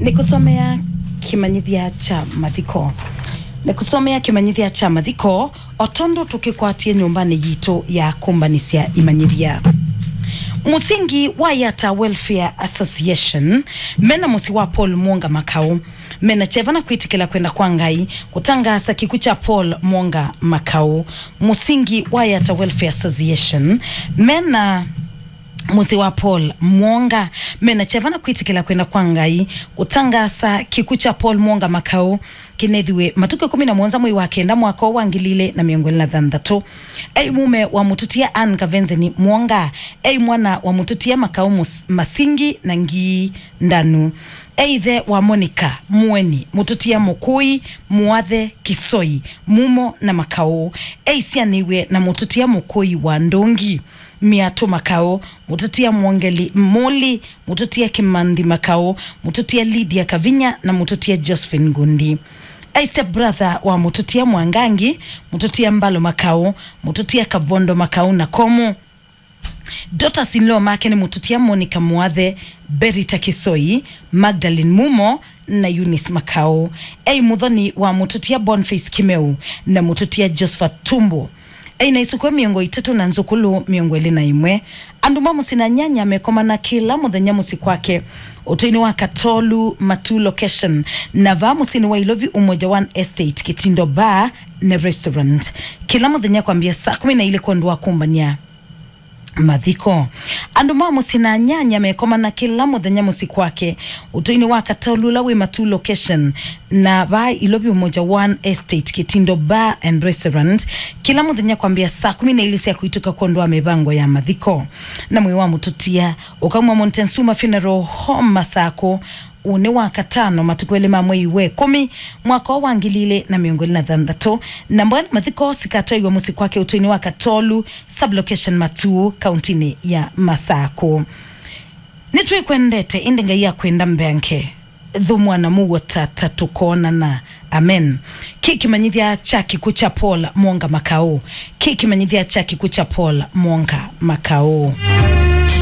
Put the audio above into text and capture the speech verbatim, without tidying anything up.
Nĩkũsomea kĩmanyĩthya kya mathiko. Nĩkũsomea kĩmanyĩthya kya mathiko, o tondũ tũkĩkwatie nyũmbanĩ yitũ ya kũmbanĩsya imanyĩthya. Mũsingi wa Yatta Welfare Association mena mũsyĩ wa Paul Mwonga Makau mena kyeva na kwĩtĩkĩla kwenda kwa Ngai kũtangaasa kĩkw'ũ kya Paul Mwonga Makau. Mũsingi wa Yatta Welfare Association mena mũsyĩ wa Paul Mwonga mena kyeva na kwĩtĩkĩla kwenda kwa Ngai kũtangaasa kĩkw'ũ kya Paul Mwonga Makau kĩnethiwe matukũ ĩkũmi na mũonza mwei wa kenda mwaka wa ngili ilĩ na mĩongo ĩlĩ na thanthatũ. Ei mũme wa mũtũtia Ann Kavenzeni Mwonga, ei mwana wa mũtũtia Makau Mus- Masingi na Ngii Ndanu, ei ĩthe wa Monica Mũeni, mũtũtia Mũkũi, Mũathe Kisoi, Mumo na Makau, ei syanĩw'e na mũtũtia Mũkũi wa Ndũngi, Miatũ Makau, mũtũtia Mwongeli Mũli, mũtũtia Kĩmanthi Makau, mũtũtia Lydia Kavinya na mũtũtia Josephine Ngundi. Ei step brother wa mũtũtia Mwangangi, mũtũtia Mbalo Makau, mũtũtia Kavondo Makau na Komu. Daughters in law make nĩ mũtũtia Monica Mũathe, Berita Kisoi, Magdalene Mumo na Eunice Makau. Ei mũthoni wa mũtũtia Boniface Kimeu na mũtũtia Josephat Tumbu. Ei na isukwe mĩongo ĩtatũ na nzũkũlũ mĩongo ĩlĩ na ĩmwe. Andũ ma mũsyĩ na nyanya mekomana kĩla mũthenya mũsyĩ kwake ũtũinĩ wa Katolu Matu location na vaa mũsyĩnĩ wa Ilovi Umoja One Estate Kitindo Bar na Restaurant kĩla mũthenya kwambia saa kũmi na ilĩ kwondũ wa kũmbany'a mathiko. Andũ ma mũsyĩ na nyanya mekomana kĩla mũthenya mũsyĩ kwake ũtũinĩ wa Katolu ũla wĩ Matu location na vaa Ilovi Umoja One Estate Kitindo Bar and Restaurant kĩla mũthenya kwambia saa kũmi na ilĩ sya kũitũka kwondũ wa mĩvango ya mathiko. Na mwĩĩ wa mũtũtia ũkaumwa Montezuma Funeral Home Masakũ ũnĩ wa katano matukũ elĩ ma mwei wa ĩkũmi mwaka wa ngili ilĩ na mĩongo ĩlĩ na thanthatũ, na mboya na mathiko sikatwaiwa mũsyĩ kwake ũtũinĩ wa Katolu, sublocation Matuu, kauntinĩ ya Masakũ. Nĩtwĩkwendete, ĩndĩ Ngai akwenda mbeange. Thũmũa na mũuo tata tũkoonana. Amen. Kĩ kĩmanyĩthya kya kĩkw'ũ kya Paul Mwonga Makau. Kĩ kĩmanyĩthya kya kĩkw'ũ kya Paul Mwonga Makau.